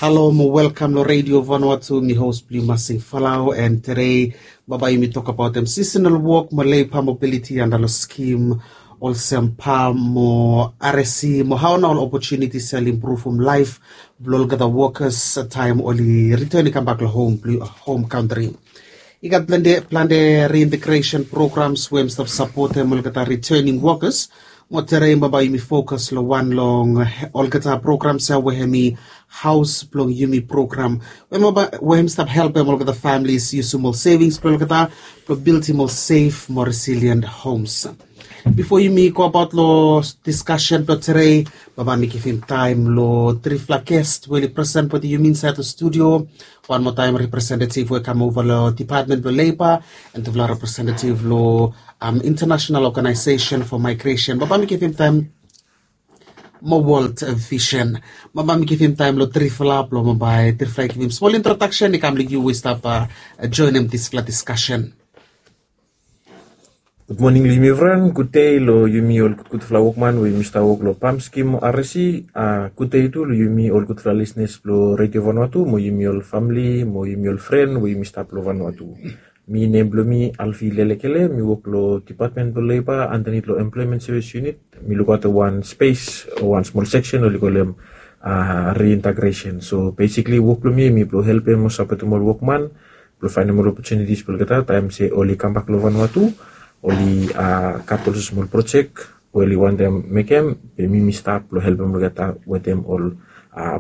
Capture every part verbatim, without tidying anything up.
Halo mo welkam long Radio Vanuatu, mi host blong yu Masing Falau, and today baba yumi tok abaot em seasonal work mo labor mobility under lo scheme olsem PALM mo RSE mo hao nao ol opportunities ya oli improve from life blong olgeta workers taem oli return i kambak lo home blong home country. I gat plante plante reintegration programs we mi stap sapotem olgeta returning workers. Mo today baba yumi focus lo wan long olgeta programs ya we hemi haos blong yumi program we hemi stap helpem olgeta families yusum ol savings blong olgeta blong bildim ol safe mo resilient homes. Bifo yumi go abaot lo discussion blong today, baba mi givim taem lo trifala guest we oli present wetem yumi insaed lo studio. Wan moa taem representative we kam ova lo Department blong Labor and tufala representative lo um, International Organization for Migration. Baba mi givim taem mo World Vision. Baba mi givim taem lo trifala blong baba trifala i givim smol introduction i kam lo yu we stap uh, joinim disfala discussion. Gud moning lo yumi evriwan, gud dei lo yumi ol gudgudfala wokman we yumi stap wok lo PALM scheme mo RSE. Gud dei tu lo yumi ol gudfala lisenas blo Radio Vanuatu mo yumi ol famili mo yumi ol fren we yumi stap lo Vanuatu. Mi nem blo mi Alfi Lelekele, mi wok lo Department blo Labor andanit lo Employment Service Unit. Mi lukaotem wan spes o wan smol seksen oli kolem reintegration. So besikli wok blo mi hemi blo helpem o sapotem ol wokman blo faenem ol opportunities blo olgeta taem se oli kambak lo Vanuatu oli gat olsem smol projek we oli wantem mekem, be mi mi stap blo helpem olgeta wetem ol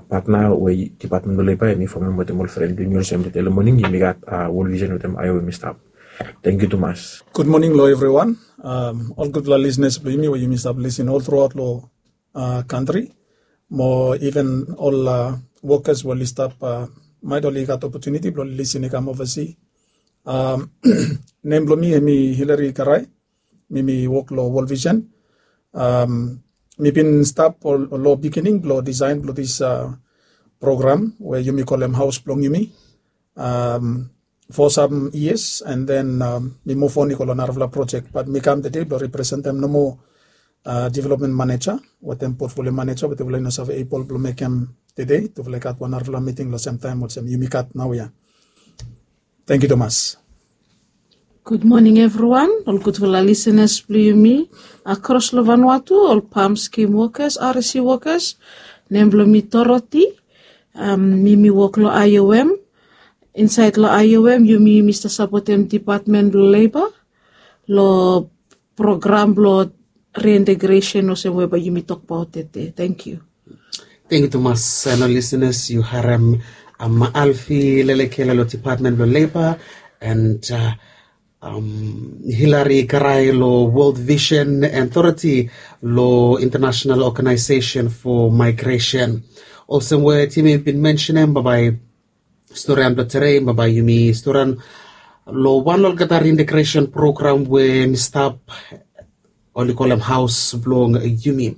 patna we Department blo Labor hemi fomem wetem ol fren blo yumi olsem tede lo moning yumi gat World Vision wetem IOM i stap. Tangkiu tumas. Gud moning lo evriwan, ol gudfala lisenas blo yumi we yumi stap lisin ol truaot lo kantri mo iven ol wokas we oli stap, maet oli gat opotuniti blo oli lisin i kam ovasi. Nem blo mi hemi Hilary Karai. Mi mi wok lo World Vision. Mi bin stap lo bigining blo disaen blo dis program we yumi kolem haos blong yumi fo sam yias, and then mi muv on i go lo narafala projek, bat mi kam tede blo representem nomo development maneja wetem portfolio maneja we tufala i no save ebol blo mekem tede. Tufala i gat wan narafala miting lo semtaem olsem yumi gat naoia. Tangkiu tumas. Gud moning evriwan, ol gudfala lisenas blo yumi akros lo Vanuatu, ol PALM scheme wokas, RSE wokas. Nem blo mi Dorothy. Mi mi wok lo IOM. Insaed lo IOM yumi yumi stap sapotem Department blo Labor lo program blo reintegration olsem we bae yumi tokbaot tede. Tangkiu. Tangkiu tumas. Ol lisenas, yu harem Alfi Lelekele lo Department blo Labor and Hilary Karai lo World Vision and Dorothy lo International Organization for Migration. Olsem we Tim i bin mensenem, bambae storian blo tede, bambae yumi storian lo wan lo olgeta reintegration program we mi stap, oli kolem haos blong yumi.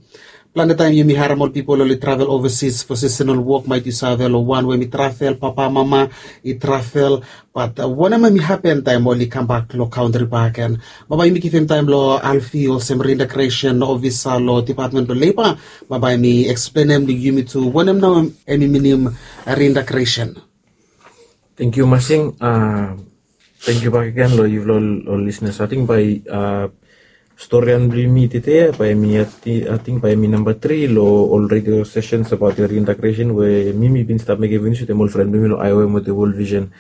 Plante taem yumi harem ol pipol oli travel ovasis fo seasonal wok, maet yu save lo wan we mi travel, papa mama i travel. Bat wanem hemi hapen taem oli kambak lo kantri baken? Bambae yumi givim taem lo Alfi olsem reintegration ofisa lo Department blo Labor. Bambae hemi eksplenem lo yumi tu wanem nao hemi minim reintegration. Tangkiu Masing. Tangkiu bakegen lo yufala ol lisenas. Ating bae storian blo yumi tede bae hemi, ating bae hemi namba tri lo ol radio sessions abaot reintegration we mi mi bin stap mekem finis wetem ol fren blo mi lo IOM wetem World Vision.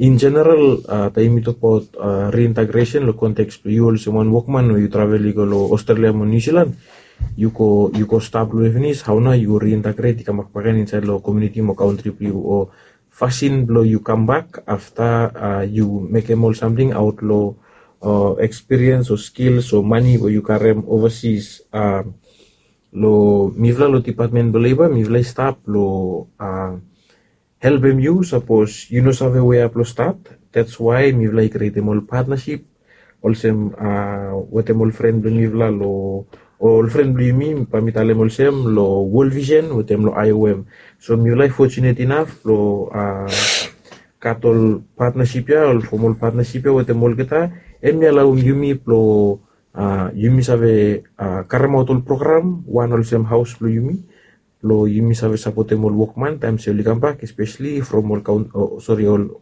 In general, taem yumi tokbaot reintegration lo konteks blo yu olsem wan wokman we yu travel i go lo Australia mo New Zealand, yu go, yu go stap lo we finis, hao nao yu reintegrate i kambak bakegen insaed lo komuniti mo kantri blo yu, o fasin blo yu kambak afta yu mekem ol samting aot lo experience o skills o mane we yu karem ovasis. Lo mifala lo Department blo Labor, mifala i stap lo helpem yu sapos yu no save wea blo stat. That's why mifala i krietem ol partnership olsem wetem ol fren blo mifala lo, ol fren blo yumi, bae mi talem olsem lo World Vision wetem lo IOM. So mifala i fortunate enough lo gat ol partnership ya, ol formal partnership ya wetem olgeta. Hemi alaoem yumi blo yumi save karemaot ol program, wan olsem haos blo yumi blong yumi save sapotem ol wokman taem se oli kambak, espesli from ol kaun- o sori, ol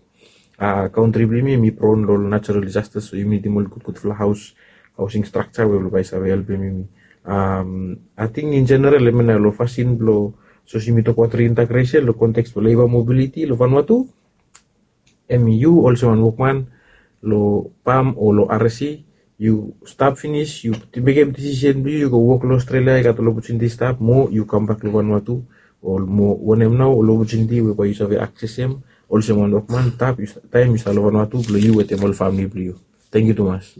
a kantri blong yumi, yumi pron long ol natural disasters, so yumi nidim ol gudgudfala haos, haosing strakja we oli bae save helpem yumi. Ating in jeneral hemia nao long fasin blong, sapos yumi tokbaot reintegresen long konteks blong leba mobiliti long Vanuatu, hemi yu olsem wan wokman long pam o long R S C, yu stap finis, yu mekem disisen blong yu, yu go wok long Australia, yu gat ol opotuniti stap, mo yu kambak long Vanuatu, o mo wanem nao ol opotuniti we bae yu save aksesem olsem wan wokman taem yu stap long Vanuatu blong yu wetem ol famili blong yu. Tangkiu tumas.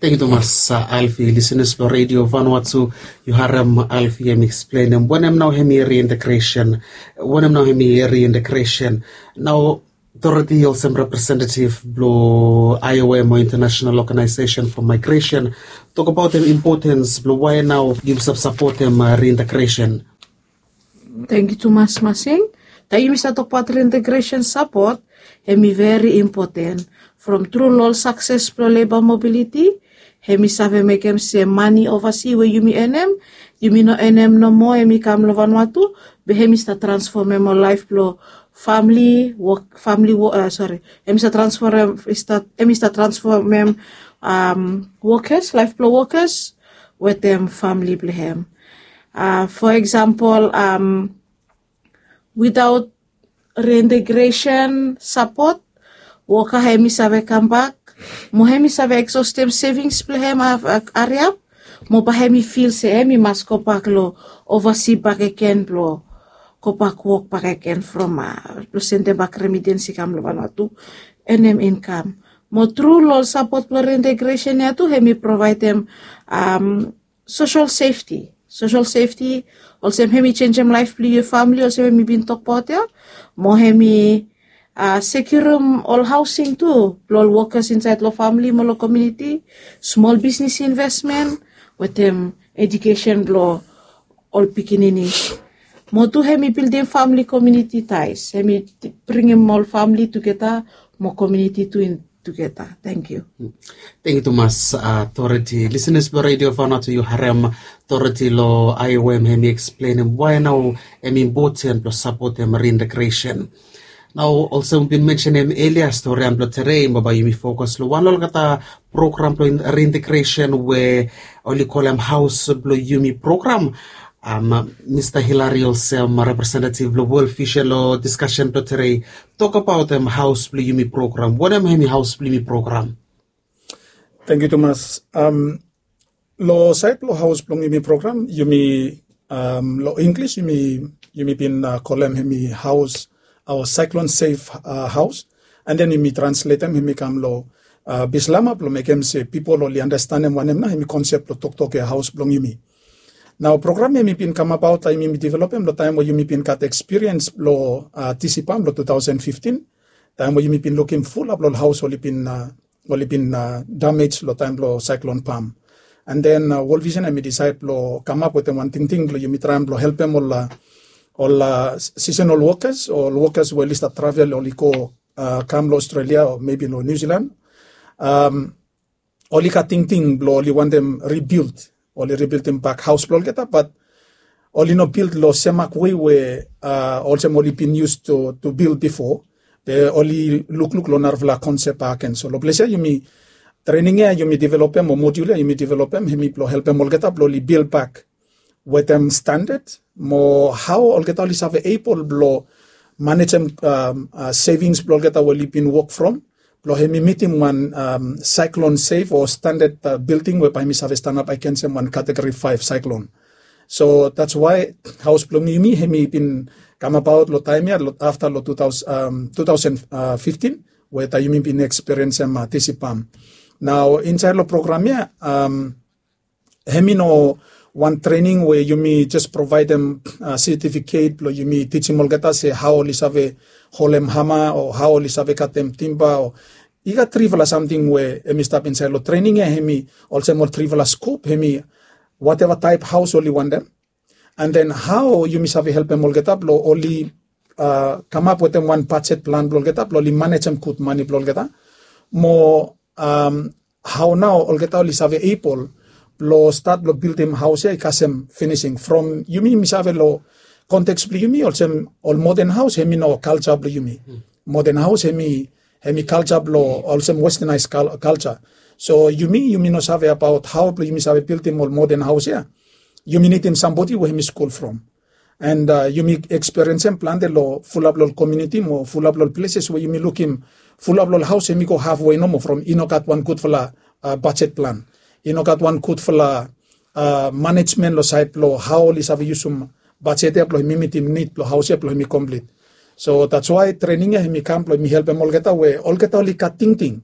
Tangkiu tumas, Alfi. Lisenas blong Redio Vanuatu, yu harem Alfi hemi eksplenem wanem nao hemi reintegresen, wanem nao hemi reintegresen. Nao Dorothy olsem representetiv blong I O M o International Organization for Migration, tokbaotem impotens blong wae nao yumi save sapotem reintegresen. Tangkiu tumas Masing. Taem yumi save tokbaot reintegresen sapot, hemi veri impoten. From tru long ol sakses blong leba mobiliti, hemi save mekem se mane ovasi we yumi enem, yumi no enem nomo, hemi kam long Vanuatu, be hemi stap transfomem ol laef blong famili wok, famili wok, sori, hemi stap transfomem, hemi stap transfomem wokas, laef blong wokas wetem famili blong hem. Fo eksampol, witaot reintegresen sapot, woka hemi save kambak, mo hemi save eksostem sevings blong hem hariap, mo bae hemi fil se hemi mas gobak long ovasi bakegen blong gobak wok bakegen from blong sendem bak remittance i kam long Vanuatu, enem inkam. Mo tru long ol sapot blong reintegresen ya tu hemi provaedem social safety. Social safety, olsem hemi jenisim laef blong yu famili, olsem hemi bin tokbaot ya, mo hemi sekiurim ol haosing tu blong ol wokas insaed long famili mo long komuniti, smol bisnis investmen, wetem ejukesen blong ol pikinini. Mo tu hemi bildim famili komuniti taes, hemi bringim ol famili tugeta, mo komuniti tu in tugeta. Tangkiu. Tangkiu tumas, Dorothy. Lisenas blong Redio Vanuatu, yu harem Dorothy long I O M hemi eksplenem wae nao hemi impoten blong sapotem reintegresen. Nao olsem mi bin mensenem elia, storian blong tede bae yumi fokas long wan long olgeta program blong reintegresen we oli kolem Haos Blong Yumi program. Mista Hillary olsem representetiv blong World Vision long diskasen blong tede, tokbaotem Haos Blong Yumi program. Wanem hemi Haos Blong Yumi program? Tangkiu tumas. Long saed blong Haos Blong Yumi program, yumi, long Inglis yumi, yumi bin kolem hemi haos, o cyclone safe house. And then yumi transletem hemi kam long Bislama blong mekem se pipol oli andastanem wanem nao hemi konsep blong toktok ya Haos Blong Yumi. Nao program ya hemi bin kamabaot taem yumi developem long taem we yumi bin gat ekspiriens blong TC PALM long two thousand fifteen, taem we yumi bin lukim fulap long ol haos oli bin oli bin damej long taem blong Cyclone PALM. And then World Vision hemi disaed blong kamap wetem wan tingting blong yumi traem blong helpem ol, ol seasonal workers, ol workers we oli stap travel, oli go kam long Australia o maybe long New Zealand. Oli gat tingting blong oli wantem rebuild, oli rebuildim bak haos blong olgeta, bat oli no bild long semak wei we olsem oli bin used to, to build before. Be oli lukluk long narafala konsep agen. So long ples ya yumi, trening ya yumi developem, o modul ya yumi developem, hemi blong helpem olgeta blong oli bild bak wetem standard, mo hao olgeta oli save able blong manejem savings blong olgeta we oli bin wok from, blong hemi mitim wan cyclone safe o standard building we bae hemi save stanap agensem wan category five cyclone. So that's why Haos Blong Yumi hemi bin kamabaot long taem ya, afta long two thousand, two thousand fifteen, we taem yumi bin ekspiriensem TC PALM. Nao insaed long program ya, hemi no wan trening we yumi jes provaedem setifiket blong yumi tijim olgeta se hao oli save holem hama o hao oli save katem timba o, i gat trifala samting we hemi stap insaed long trening ya, hemi olsem ol trifala skop, hemi wateva taep haos oli wantem. And then hao yumi save helpem olgeta blong oli kamap wetem wan bajet plan blong olgeta blong oli manejem gud mane blong olgeta. Mo hao nao olgeta oli save able blong stat blong bildim haos ya i kasem finising. From yumi, mi save long konteks blong yumi olsem ol modern haus hemi no kalja blong yumi. Modern haus hemi hemi kalja blong olsem westernized culture. So yumi yumi no save abaot hao blong yumi save bildim ol modern haus ya. Yumi nidim sambodi we hemi skul from. And uh, yumi eksperiensem plante long fulap long komuniti mo fulap long places we yumi lukim fulap long haus hemi go halfway nomo from i no gat wan gudfala uh, budget plan. I no gat wan gudfala uh, management long sait blong hao oli save yusum budget ya blong hemi mitim nid blong haus ya blong hemi komplit. So that's why training ya hemi kam blong hemi helpem olgeta we olgeta oli gat tingting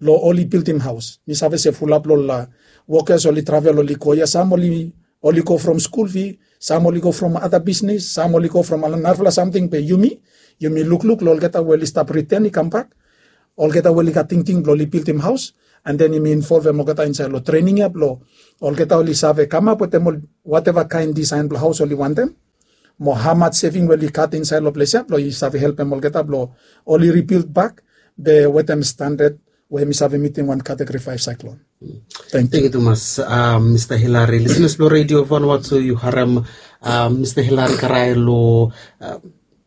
long oli bildim haus. Mi save se fulap long la workers oli travel oli go ya, sam oli oli go from skul fi, sam oli go from ada bisnis, sam oli go from narafala samting be yumi yumi lukluk long olgeta we oli stap riten i kambak, olgeta we oli gat tingting blong oli bildim haus, and then yumi involvem olgeta insait long trening ya blong olgeta oli save kamap wetem ol wateva kaen disaen blong haus oli wantem. Mo hamat seving we oli gat insait long ples ya blong i save helpem olgeta blong oli ribild bak be wetem standard we mi save mitim wan kategori faef saiklon. Thank you. Tumas, mista Hilari. Listeners blong Radio Vanuatu, yu harem mista Hilari karae long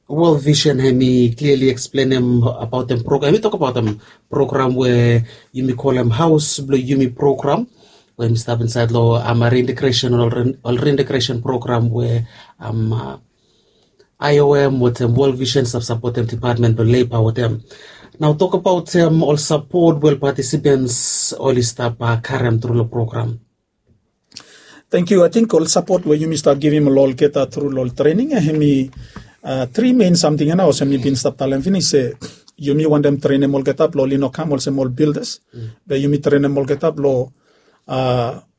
World Vision hemi clearly explainem abaotem program, hemi tok abaotem program we yumi kolem Haus blong Yumi program we hemi stap insait long reintegration, ol reintegration program we IOM wetem World Vision stap sapotem Department blong Labor wetem. Nao tokbaot ol sapot we ol participants oli stap karem tru long program. Thank you. Ating ol sapot we yumi stap givim long olgeta tru long ol trening ya hemi tri mein samting ya nao olsem mi bin stap talem finis se yumi wantem trenem olgeta blong oli no kam olsem ol builders. Be yumi trenem olgeta blong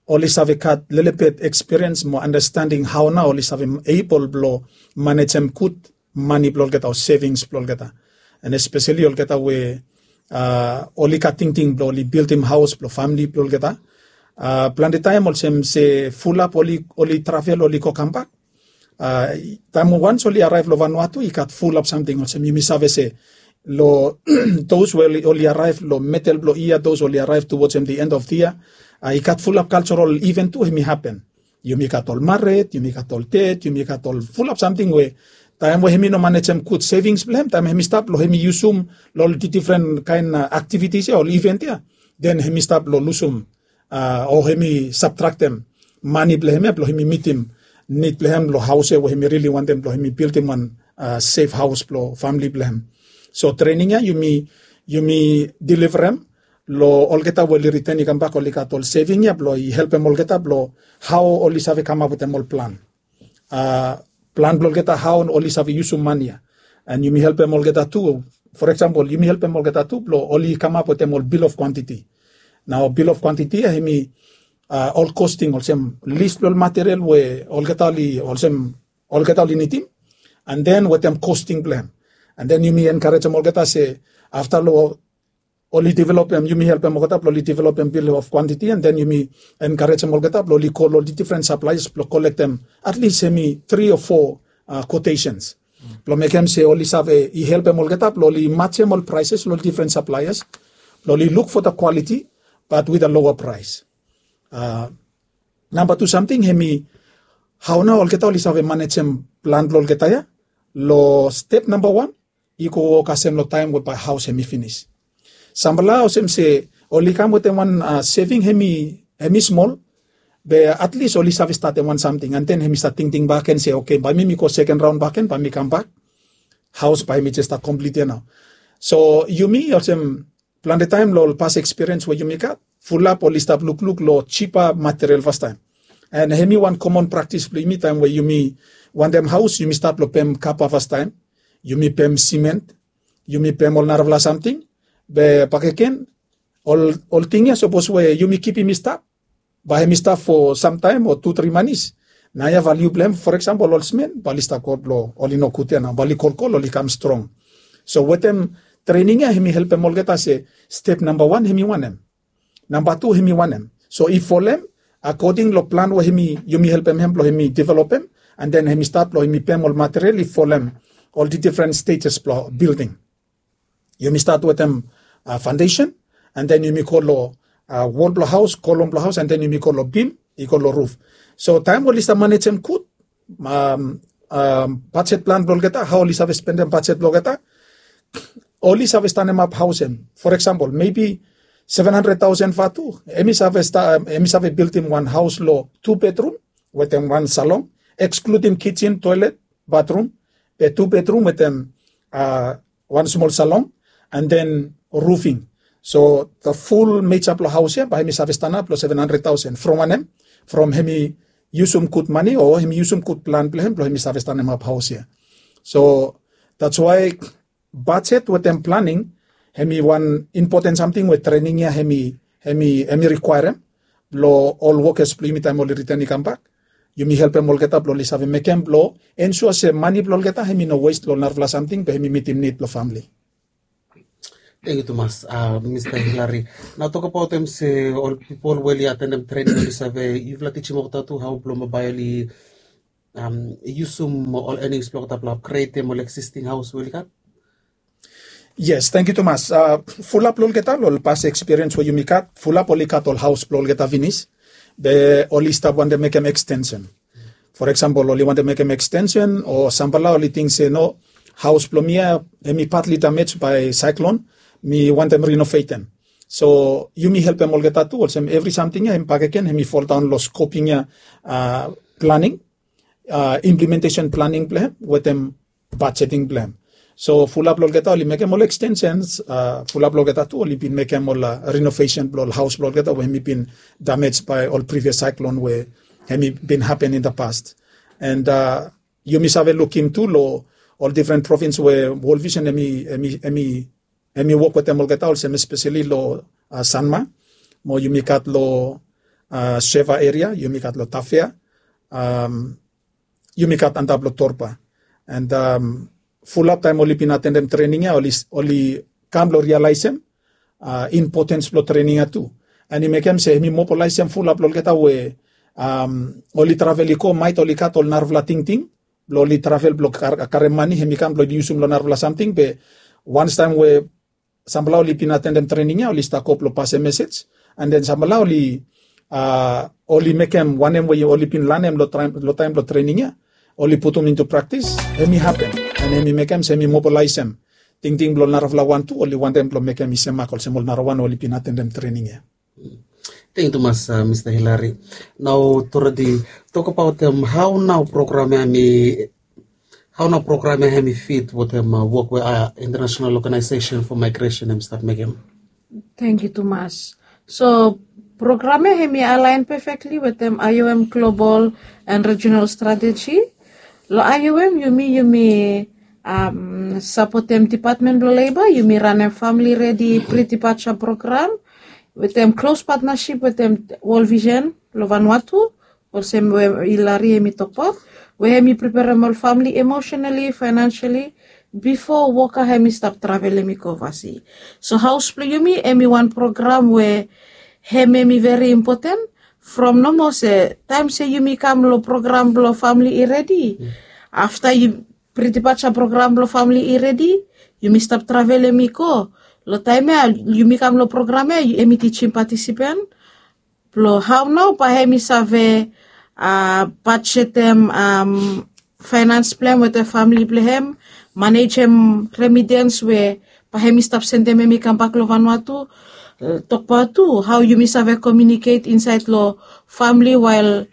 oli save gat lelebet ekspiriens mo andastanding hao nao oli save ebol blong manejem gud mani blong olgeta o sevings blong olgeta. And espeseli olgeta we oli gat tingting blong oli bildim haos blong famili blong olgeta. Plante taem olsem se fulap oli travel oli go kambak. Taem wans oli araev long Vanuatu i gat fulap samting olsem yumi save se long dos we oli araev long medel blong yia, dos oli araev tuwajim the end of the year, i gat fulap kaljarol iven tu hemi hapen. Yumi gat ol maret, yumi gat ol ded, yumi gat ol fulap samting we taem we hemi no manejem gud sevings blong hem, taem hemi stap long hemi yusum long ol difren kaen aktivitis ya, ol iven ya, den hemi stap long lusum o hemi sabtraktem mani blong hem ya blong hemi mitim nid blong hem long haos ya we hemi rili wantem blong hemi bildim wan sef haos blong famili blong hem. So trening ya yumi yumi deliverem long olgeta we oli riten i kambak oli gat ol seving ya blong i helpem olgeta blong hao oli save kamap wetem ol plan. Plan blong olgeta hao oli save yusum mani ya. And yumi helpem olgeta tu, for example yumi helpem olgeta tu blong oli kamap wetem ol bill of quantity. Nao bill of quantity ya hemi ol kosting olsem lis blong ol material we olgeta oli olsem olgeta oli nidim, and then wetem kosting blong hem. And then yumi enkarejem olgeta se afta long oli developem, yumi helpem olgeta blong oli developem bill of quantity, and then yumi enkarejem olgeta blong oli kol ol difren saplaias blong kolektem at least hemi tri o fo quotations blong mekem se oli save i helpem olgeta blong oli majem ol praeses long ol difren saplaias blong oli luk fo the quality but with a lower price. Namba tu samting hemi hao nao olgeta oli save manejem plan blong olgeta ya. Long step namba wan i go wok kasem long taem we bae haos hemi finis. Samfala olsem se oli kam wetem wan seving hemi smol, be at least oli save statem wan samting, and then hemi save tingting bak gen se oke, bae mi mi go seken raon bak gen bae mi kambak, haos bae hemi jes stap komplit ya nao. So yumi olsem plante taem long ol pas ekspiriens we yumi gat, fulap oli stap lukluk long jipa material fastaem. And hemi wan komon praktis blong yumi taem we yumi wantem haos yumi stat long pem kapa fastaem, yumi pem siment, yumi pem ol narafala samting. Be bakegen ol ting ya sapos we yumi kipim i stap, bae hemi stap fo samtaem o tu tri manis. Naoia valiu blong hem, for example ol smen bae oli stap go blong oli nogud ya nao, bae oli kolkol oli kam strong. So wetem trening ya hemi helpem olgeta se step namba wan hemi wanem, namba tu hemi wanem. So i folem akoding long plan we hemi yumi helpem hem blong hemi developem, and then hemi stat blong hemi pem ol material i folem ol difren stejes blong bilding. Yumi stat wetem faondesen, and then yumi go long wol blong haos, kolom blong haos, and then yumi go long bim, i go long ruf. So taem we oli stap manejem gud, um, bajet plan blong olgeta, hao oli save spendem bajet blong olgeta, oli save stanemap haos hem. For example, maybe seven hundred thousand vatu, hemi save, sta, um, hemi save bildim wan haos long tu bedrum wetem wan salon, excluding kitchen, toilet, bathroom, be tu bedrum wetem, uh, wan smol salon, and then roofing. So the full meja blong haos ya bae hemi save stanap long seven hundred thousand. From wanem? From hemi yusum gud mane o hemi yusum gud plan blong hem blong hemi save stanemap haos ya. So that's why bajet wetem planing hemi wan impoten samting we trening ya hemi, hemi, hemi rikwaerem long ol wokes blong yumi taem oli ritan i kambak. Yumi helpem olgeta blong oli save mekem blong ensua se mane blong olgeta hemi no wes long narafala samting be hemi mitim nid blong famle. Tangkiu tumas, uh, Mista Hilary. Nao tokbaot hem se ol pipol we oli atendem trening oli save yufala tijim olgeta tu hao blong bae oli, um, yusum ol enings blong olgeta blong apgredem ol existing haos we oli gat. Yes, tangkiu tumas. Uh, fulap long olgeta long ol pas ekspiriens we yumi gat, fulap oli gat ol haos blong olgeta finis. Be oli stap wantem mekem ekstensen. For example, oli wantem mekem ekstensen o sampela oli ting se no, haos blong mi ya hemi patli damej bae saeklon, mi wantem rinovetem. So yumi helpem olgeta tu olsem evri samting ya hemi bakegen hemi foldaon long skoping ya, uh, planing, uh, implementesen planing blong hem wetem bajeting blong hem. So fulap long olgeta oli mekem ol ekstensens, uh, fulap long olgeta tu oli bin mekem ol, uh, rinovesen blong ol haos blong olgeta we hemi bin damej bae ol privias saeklon we hemi bin hapen in the past. And, uh, yumi save lukim tu long ol difren provins we World Vision hemi, hemi, hemi, hemi wok wetem olgeta olsem espeseli long, uh, Sanma, mo yumi gat long, uh, Seva eria, yumi gat long Tafea, um, yumi gat antap long Torba. And, um, fulap taem oli bin atendem trening ya oli, oli kam blong rialaesem, uh, impotens blong trening ya tu. And i mekem se hemi mobilaesem fulap long olgeta we, um, oli travel i go maet oli gat ol narafala tingting blong oli travel blong kar-, karem mane hemi kam blong oli yusum long narafala samting be wanstaem we sampela oli bin atendem trening ya oli stap go blong pasem mesej. And then sampela oli, uh, oli mekem wanem we oli bin lanem long taem, long taem blong trening ya oli putum into praktis, hemi hapen. And hemi mekem se hemi mobilaesem tingting blong narafala wan tu oli wantem blong mekem i semak olsem ol narawan oli bin atendem trening ya. Tangkiu tumas, uh, Mista Hilary. Nao Toredi, tokbaot, um, hao nao program ya hemi, hao nao program ya hemi fit wetem, uh, wok we, uh, International Organization for Migration hemi stap mekem? Tangkiu tumas. So program ya hemi alaen pefekli wetem I O M Global and Regional Strategy. Long I O M yumi, yumi, um, sapotem Dipatmen blong Leba, yumi ranem Famili Redi Pre-Departure Program wetem klos patnasip wetem World Vision long Vanuatu, olsem we Hilary hemi tokbaot, we hemi preperem ol famili emosenali, faenansali, bifo woka hemi stap travelem i go ovasi. So haos blong yumi hemi wan program we hem hemi veri impoten, from nomo se taem se yumi kam long program blong Famili I Redi, afta yu, Pre-Departure Program blong Famili I Redi, yumi stap travelem i go. Long taem ya yumi kam long program ya hemi tijim patisipen blong hao nao bae hemi save, uh, bajetem, um, faenans blong hem wetem famili blong hem, manejem remidens we bae hemi stap sendem hemi kambak long Vanuatu. Uh, tokbaot tu hao yumi save komiuniket insaed long famili wael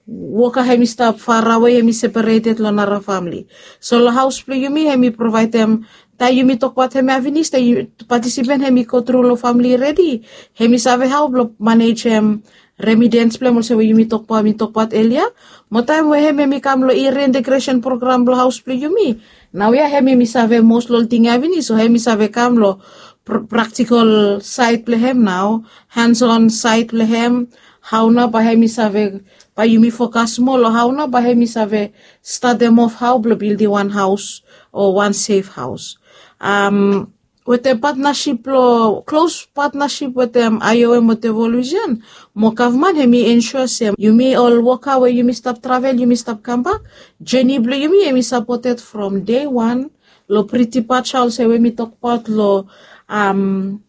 woka hemi stap farawe, hemi separeted long nara famili. So long haos blong yumi hemi provaedem, taem yumi tokbaot hemia finis, taem patisipen hemi go tru long Famili I Redi, hemi save hao blong manejem remidens blong hem olsem we yumi tokbaot, mi tokbaot elia. Mo taem we hem hemi kam long reintegresen program blong haos blong yumi, naoia hem hemi save mos long ol ting ya finis, so hemi save kam long pr-, praktikol saed blong hem nao, hands on saed blong hem, hao nao bae hemi save, bae yumi fokas moa long hao nao bae hemi save statem of hao blong bildim wan haos o wan sef haos. Um, wetem patnasip blong, klos patnasip wetem I O M wetem World Vision mo gavman, hemi ensua se yumi ol woka we yumi stap travel, yumi stap kambak, jeni blong yumi hemi sapoted from dei wan, long Pre-Departure olsem we mi tokbaot long, um,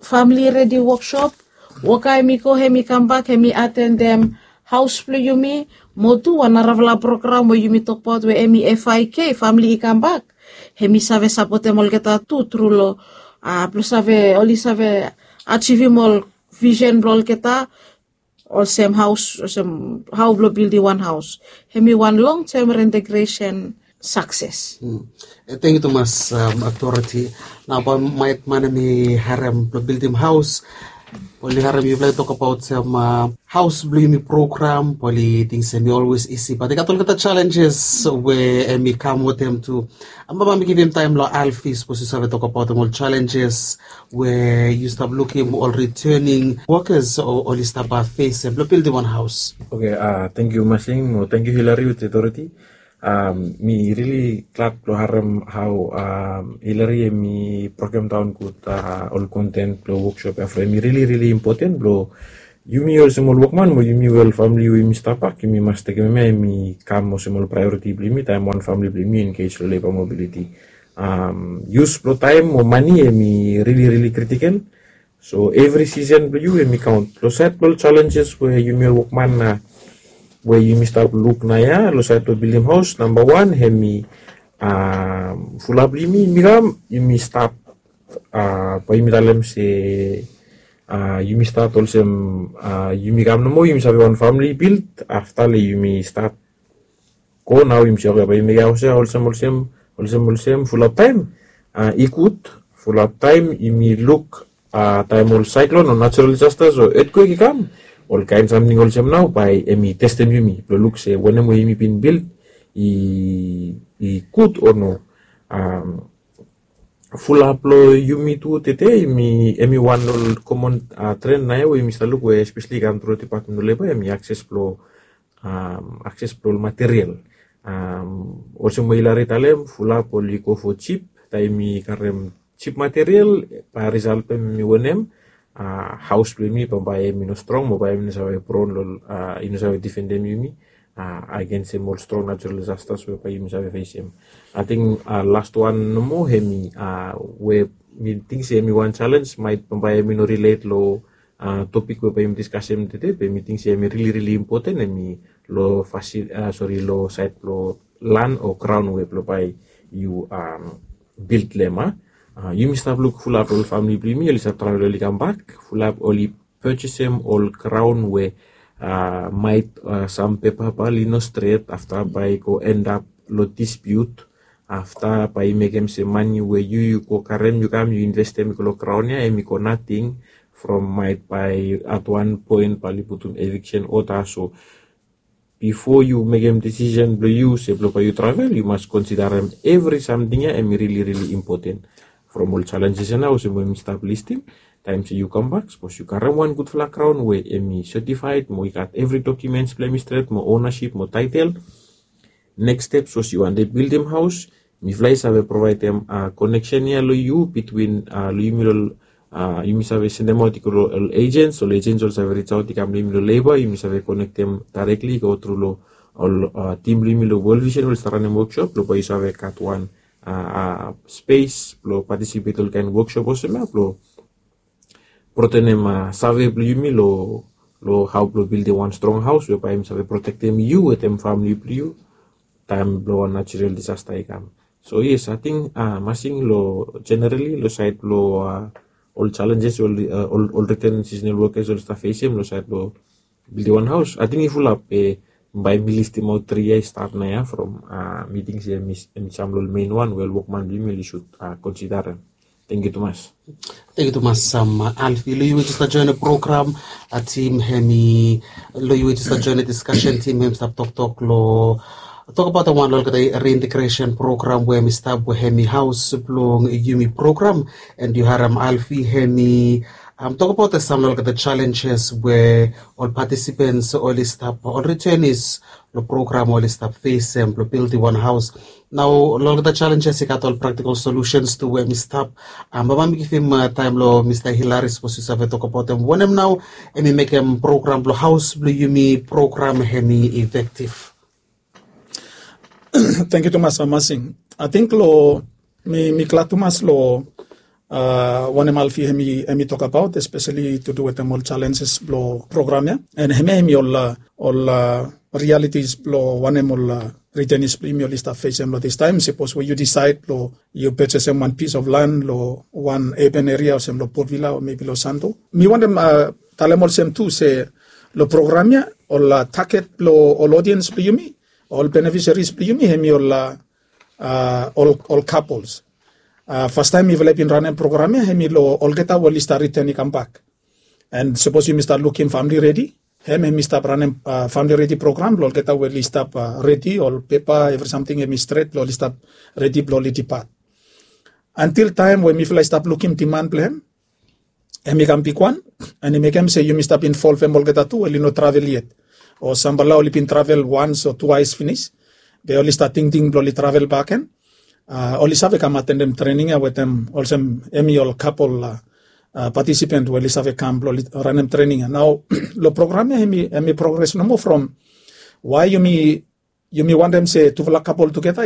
Famili Redi woksop. Woka hemi go, hemi kambak, hemi atendem haos blong yumi, mo tu wan narafala program we yumi tokbaot we em i F I K, famili i kambak. Em i save sapotem olgeta tu tru long, a, blong save, oli save ajivim ol visen blong olgeta, olsem haos, olsem hao blong bildim wan haos. Em i wan long tem reintegration sakses. Tangkiu tumas, Authority. Nao bae maet man em i harem blong bildim haos, oli harem yufala i tokbaot olsem haos blong yumi program, bae oli ting se em i olwes isi, bat i gat olgeta challenges we em i kam wetem tu. Bae mi givim taem long Alfi, sapos yu save tokbaot ol challenges we yu stap lukim ol returning workers o oli stap fesem blong bildim wan haos. Oke, tangkiu Masing, mo tangkiu Hillary wetem Dorothy. Mi rili glad blong harem hao Hillary em i brokem daon gud ol konten blong woksop ya, from em i rili rili impoten blong yumi olsem ol wokman mo yumi we ol famili we yumi stap bak, yumi mas tekem hemia, em i kam olsem ol praeoriti blong yumi taem wan famili blong yumi engej long leba mobiliti. Yus blong taem o mane em i rili rili kritikel. So evri sisen blong yu em i kaon. Long saed blong ol challenges we yumi ol wokman nao we yumi stap luk naoia long saed blong bildim haos, namba wan em i fulap blong yumi, yumi kam, yumi stap, bae yumi talem se yumi stat olsem, yumi kam nomo, yumi save wan famili bilt, afta le yumi stat go nao yumi se oke bae yumi mekem haos ya olsem olsem, olsem olsem fulap taem. I gud, fulap taem yumi luk taem ol saeklon o najerol disastas o etkwek i kam, ol kaen samting olsem nao bae em i testem yumi blong luk se wanem we yumi bin bilt i, i gud o no. Fulap long yumi tu tede, em i wan long ol komon tren naoia we yumi stap luk we espeseli i kam tru department blong leba, em i akses blong, akses blong ol material. Olsem we Hillary talem, fulap oli go fo jip, taem i karem jip material, bae risalt blong em i wanem, haos blong yumi bambae em i no strong mo bae em i no save pron long, i no save difendem yumi agensem ol strong najerol disastas we bae yumi save fesem. Ating last wan nomo, em i we mi ting se em i wan jalens, maet bambae em i no rilet long topik we bae yumi diskasem tede, be mi ting se em i rili rili impoten, em i long fasil, sori, long saed blong lan o graon we blong bae yu bilt long hem. Yumi stap luk fulap long ol famili blong yumi, oli stap travel oli kambak, fulap oli pejesem ol graon we maet sam pepa bae oli no stret, afta bae i go endap long dispiut, afta bae i mekem se mane we yu, yu go karem, yu kam, yu investem i go long graon ya, em i go nating, from maet bae at wan poen bae oli putum eviksen oda. So bifo yu mekem desisen blong yu se blong bae yu travel, yu mas konsidarem evri samting ya, em i rili rili impoten. From ol jalenjes ya nao olsem we mi stap listim, taem se yu kambak, sapos yu karem wan gudfala graon we em i setifaed mo i gat evri dokimens blong em i stret mo onasip mo taetel. Neks step, sapos yu wantem bildim haos, mifala i save provaedem koneksen ya long yu, bitwin long yumi long, yumi save sendemaot i go long ol ejens, ol ejens oli save rijaot i kam long yumi long leba, yumi save konektem daerekli i go tru long ol tim blong yumi long World Vision we oli stap ranem woksop blong bae yu save gat wan spes blong patisipet long ol kaen woksop olsem ya blong protenem save blong yumi long, long hao blong bildim wan strong haos we bae yumi save protektem yu wetem famili blong yu taem blong wan najerol disasta i kam. So yes, ating Masing, long jenerali long saed blong ol jalenjes we ol, ol riten sisenal wokes oli stap fesem long saed blong bildim wan haos, ating i fulap, be bae mi listimaot tri ya i stap naoia from mi ting se em i sam long ol mein wan we ol wokman blong yumi oli sud konsidarem. Tangkiu tumas. Tangkiu tumas, Alfi. Long yu we jes stap joen long program, tim hem i, long yu we jes stap joen long diskasen, tim hem i stap toktok long, tokbaot wan long olgeta reintegresen program we hem i stap, we hem i haos blong yumi program. And yu harem Alfi hem i tokbaot sam long olgeta jalenjes we ol patisipens oli stap, ol ritenis long program oli stap fesem blong bildim wan haos. Nao long olgeta jalenjes i gat ol praktikol solusens tu we hem i stap. Bae mi givim taem long Mista Hillary, sapos yu save tokbaotem wanem nao hem i mekem program blong haos blong yumi program hem i efektif. Tangkiu tumas, Masing. Ating long, mi, mi glad tumas long uh, wanem alfi hemi hemi tok abaut, especially to do wetem ol challenges blo program ya, and hemi hemi ol uh, ol uh, realities blo wanem ol uh, returnees blo yumi oli stap fesem lo this time. Suppose we you decide lo you purchasem one piece of land lo one urban area olsem lo Port Vila o maybe lo Santo. Mi wantem uh, talem olsem tu se lo program ya ol uh, target blo ol audience blo yumi, ol beneficiaries blo yumi hemi ol uh, uh, ol, ol couples. Uh, first time mifala i bin ranem program ya hemi lo olgeta we oli stap return i kam bak. And suppose yumi stap lukim family ready, hem hemi stap ranem uh, family ready program lo olgeta we oli stap uh, ready, ol pepa, every something hemi stret lo oli stap ready blo oli depart. Until time we mifala i stap lukim demand blo hem, hemi kam bigwan, and i mekem se yumi stap involvem olgeta tu we oli no travel yet, o samfala oli bin travel once o twice finis, be oli stap tingting blo oli travel bak gen. Uh, oli save kam atendem training ya wetem olsem hemi ol couple uh, uh, participant we oli save kam blo oli ranem training ya. Nao lo program ya hemi, hemi progress nomo from why yumi yumi wantem se tufala couple together